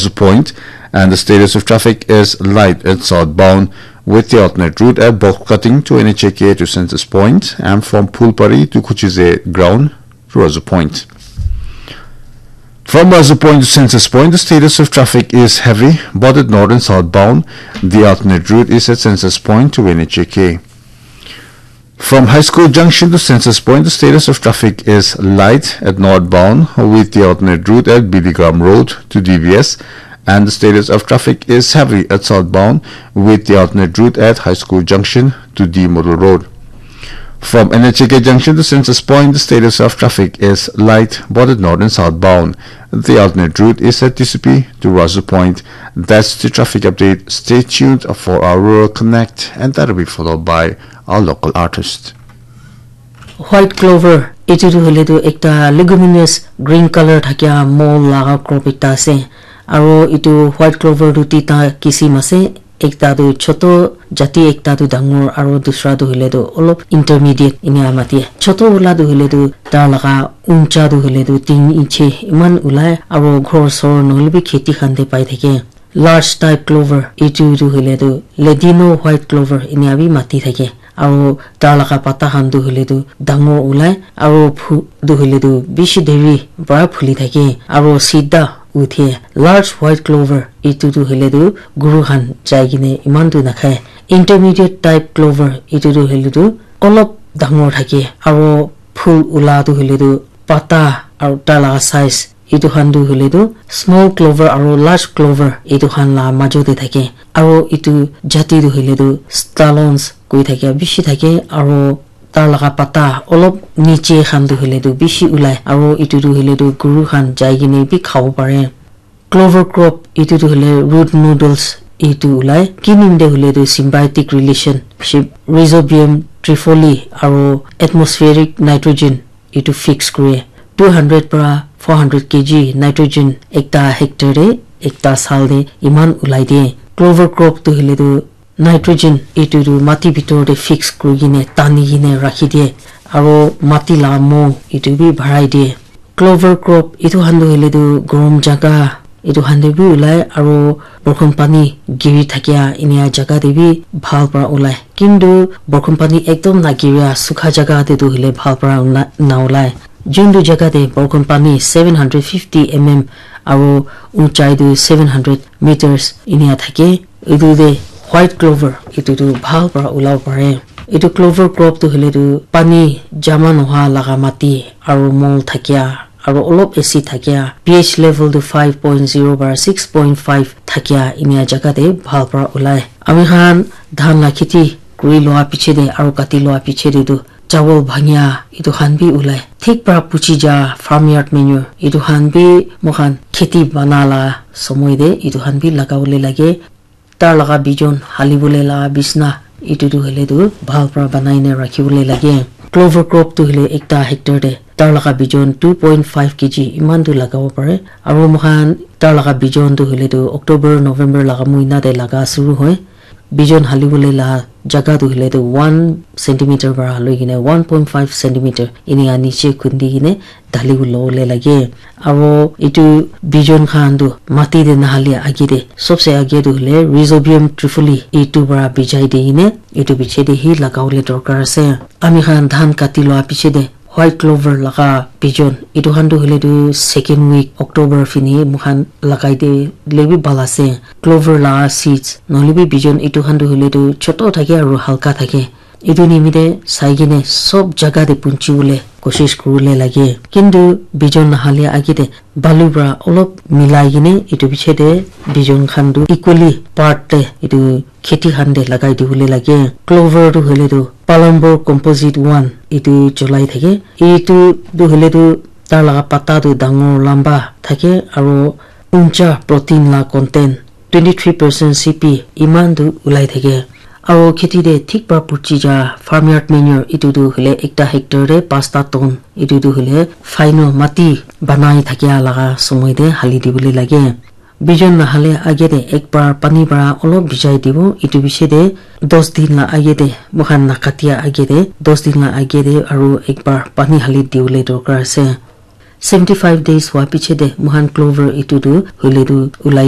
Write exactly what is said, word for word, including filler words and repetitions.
Point, and the status of traffic is light at southbound, with the alternate route at Box Cutting to N H A K to Census Point, and from Phulpari to Kuchize Ground to Razu Point. From Razu Point to Census Point, the status of traffic is heavy, but at north and southbound, the alternate route is at Census Point to N H A K. From High School Junction to Census Point, the status of traffic is light at northbound, with the alternate route at Biligram Road to D B S, and the status of traffic is heavy at southbound, with the alternate route at High School Junction to D Model Road. From N H A K Junction to Census Point, the status of traffic is light, but at north and southbound. The alternate route is at T C P to Razu Point. That's the traffic update. Stay tuned for our Rural Connect, and that'll be followed by our local artist. White clover, etu tu hoile tu ekta leguminous green color thakia mole laga crop ekta ase. Aro etu white clover tu tita kisim ase. Ekta tu choto jati, ekta tu dangor, aro dusra tu hoile tu olop intermediate enia mati. Choto wala tu hoile tu tar laga uncha tu hoile tu tin inchi eman ulai, aro ghor sor nohoile bi kheti khan te pai thake. Large type clover, etu tu hoile tu Ladino white clover enia bi mati thake. Aro tar laga pata khan tu hoile tu dangor ulai, aro phu-, tu hoile tu bishi deri para phuli thake, aro sida uthe. Large white clover, etu tu hoile tu guru khan jai kene eman tu nakhai. Intermediate type clover, etu tu hoile tu olop dangor thake, aro phul ula tu hoile tu pata aro tar laga size, etu khan tu hoile tu small clover aro large clover etu khan la majo te thake. Aro etu jati tu hoile tu stolons koi thake, bishi thake, aro tar laga pata olop niche khan tu hoile tu bishi ulai, aro etu tu hoile tu guru khan jai kene bi khabo pare. Clover crop, etu tu hoile root noodles etu ulai. Kinim te hoile tu symbiotic relationship, Rhizobium trifoli aro atmospheric nitrogen etu fix kure. Two hundred para four hundred K G nitrogen ekta hectare te, ekta saal te eman ulai de. Clover crop tu hoile tu nitrogen etu tu mati bitor te fix kuri kene tani kene rakhi de, aro mati la mo etu bi bharai de. Clover crop etu khan tu hoile tu gorom jaga etu khan te bi ulai, aro borkhon pani giri thakia enia jaga te bi bhal para ulai. Kintu borkhon pani ekdom na giria sukha jaga te tu hoile bhal para na, na ulai. Juntu jaga te borkhon pani seven hundred fifty M M aro unchai tu seven hundred meters enia thake. Etu te white clover etu tu bhal para ulabo pare. Etu clover crop tu hoile tu pani jama nohoa laga mati aro mol thakia aro olop acid thakia, pH level tu five point zero para six point five thakia enia jaga te bhal para ulai. Ami khan dhan la kheti kuri loa piche te aro kati loa piche te tu chawal bhangia etu khan bi ulai. Thik para puchi ja farmyard manure etu khan bi moikhan kheti bana la somoi te etu khan bi lagabole lage. Tar laga bijon halibole la bisna etu tu hoile tu bhal para banai na rakhibole lage. Clover crop tu hoile ekta hectare te tar laga bijon two point five K G eman tu lagabo pare. Aro moikhan tar laga bijon tu hoile tu October, November laga muina te laga suru hoi. Bijon halibole la jaga tu hoile tu one centimeter para haloi kene one point five centimeter enia niche khundi kene dali lobole lage. Aro etu bijon khan tu mati te nahali age te, sobse age tu hoile Rhizobium trifoli etu para bijai di kene etu piche te hi lagabole dorkar ase. Ami khan dhan kati loa piche te white clover laga bijon etu khan tu hoile tu second week October fini moikhan lagai dile bi bhal ase. Clover la seeds nohoile bi bijon etu khan tu hoile tu choto thake aro halka thake. Etu nimite sai kene sob jaga te punchi bole koshish kuribole lage. Kintu bijon nahale age te balu para olop milai kene etu piche te bijon khan tu equally part te etu kheti khan te lagai dibole lage. Clover tu hoile tu Palambur composite one etu cholai thake. Etu tu hoile tu tar laga pata tu dangor lamba thake aro uncha protein la content twenty three percent C P eman tu ulai thake. Aro kheti te thik para puchi ja farmyard manure etu tu hoile ekta hectare te pasta ton etu tu hoile final mati banai thakia laga somoi te hali dibole lage. Bijon nahale age te ek bar pani para olop bijai dibo. Etu piche te dos din la age te moikhan nakatia age te dos din la age te aro ek bar pani hali dibole dorkar ase. Seventy five days hua piche te moikhan clover etu tu hoile tu ulai di.